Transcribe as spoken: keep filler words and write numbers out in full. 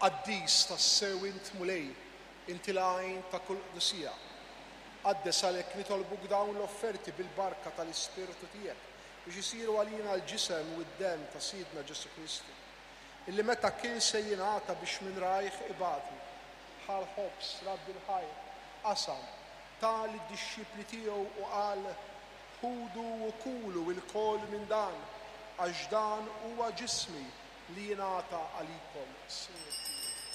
Qaddis tassew int Mulej, inti l-għajn ta' kull qdusija. Qaddes għalhekk nitolbuk dawn l-offerti bil-barka tal-Ispirtu tiegħek biex isiru għalina l-ġisem u d-demm ta' Sidna Ġesù Kristu. Illi meta kien se jingħata biex minn rajh ibati, ħa l-ħobż, radd il-ħajr, qasam, ta lid-dixxipli tiegħu u qal: Ħudu u kulu lkoll minn dan, għax dan huwa ġismi li jingħata għalikom. Sir.